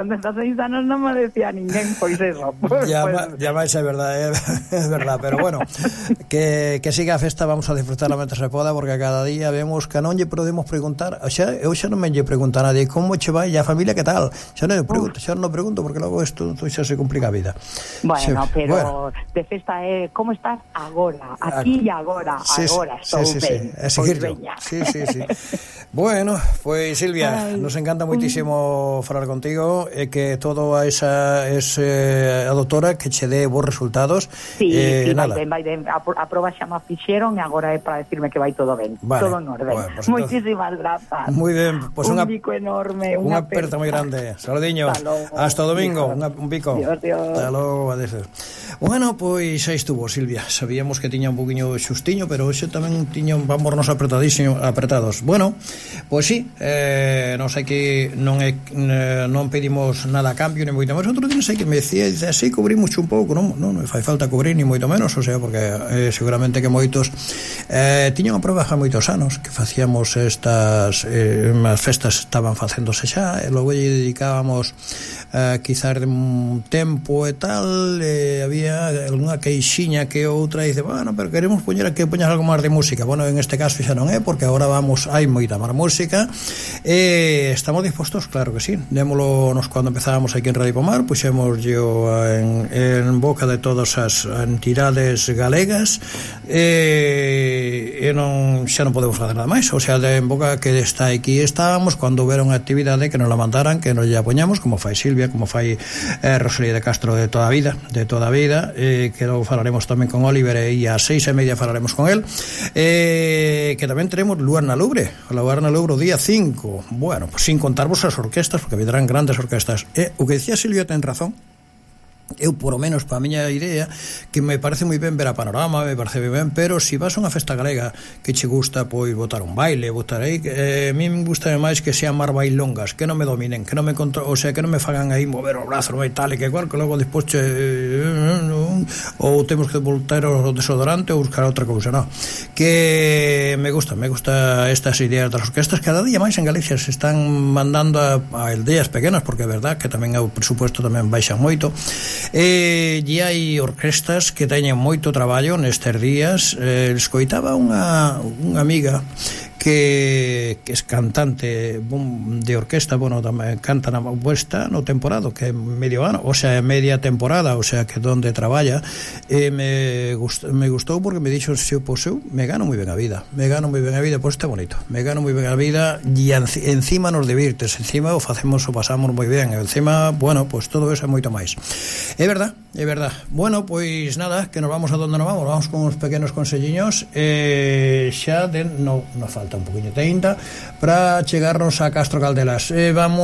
con 16 anos non me decía ninguén, pois eso. Ya máis é verdade, é verdade, pero bueno, que siga a festa, vamos a disfrutarla mentre se poda, porque cada día vemos que non lle podemos preguntar, eu xa non me lle pregunto a nadie como che vai e a familia que tal, xa non pregunto, porque logo isto xa se complica a vida. Bueno, pero de festa é como estás agora, aquí e agora, estou ben. Sí. Bueno, pois Silvia, nos encanta moitísimo falar contigo, e que todo a esa a doutora que che dé bons resultados. Sí, vai ben, a proba xa me fixeron e agora é para decirme que vai todo ben, todo en orden. Bueno, pues moitísimas grazas. Moi ben, pues un bico enorme, unha aperta moi grande. Saludiño. Hasta o domingo, un bico. Dios. Hasta logo, adeus. Bueno, pois aí estuvo Silvia. Sabíamos que tiña un poquinho xustiño, pero hoxe tamén vámonos apretados. Bueno, pois sí, non sei que non pedimos nada a cambio, ni moito menos. Outro día sei que me decía, así cubrimos un pouco, non fai falta cubrir ni moito menos, o sea, porque seguramente que moitos tiñan a proba xa moitos anos que facíamos estas as festas estaban facéndose xa, e logo lle dedicábamos quizás de un tempo e tal, había algunha queixiña que outra dice, bueno, pero queremos poñer algo máis de música. Bueno, en este caso xa non é, porque agora hai moita máis música, e estamos dispostos, claro que sí. Démolo nos cando empezábamos aquí en Radio Pomar, puxemos yo en boca de todas as entidades galegas, e xa non podemos facer nada máis, o sea, en boca que está aquí estábamos, cando houberon actividade que nos la mandaran, que nos lla poñamos, como fai Silvia, como fai Rosalía de Castro de toda a vida, que logo falaremos tamén con Oliver, e a 6:30 falaremos con él, que tamén teremos Luar na Lubre o día 5, bueno, pues sin contarvos as orquestas, porque vendrán grandes orquestas, o que decía Silvia ten razón. Eu, por lo menos, para a miña idea, que me parece moi ben ver a Panorama, me parece moi ben, pero se vas a unha festa galega que che gusta, pois, botar un baile, botar aí, a mí me gusta máis que sean máis bailongas, que non me dominen, que non me o sea, que non me fagan aí mover o brazo, e tal, e que igual, que logo despois ou temos que voltar o desodorante ou buscar outra cousa, non. Que me gusta estas ideas das orquestas, cada día máis en Galicia se están mandando a aldeas pequenas, porque é verdad que tamén o presupuesto tamén baixa moito. E hai orquestas que teñen moito traballo nestes días. Escoitaba unha amiga que é cantante de orquesta, bueno, tamén canta na puesta no temporado, que é medio ano, o sea, media temporada, o sea, que donde traballa, me gustou porque me dixo, se eu poseu, me gano moi ben a vida, pois está bonito, me gano moi ben a vida, e encima nos divirtes, encima o pasamos moi ben, e encima, bueno, pois todo eso é moito máis. É verdad. Bueno, pois nada, que nos vamos a donde nos vamos con uns pequenos conselliños, xa nos falta un poquinho de 30 para chegarnos a Castro Caldelas. Vamos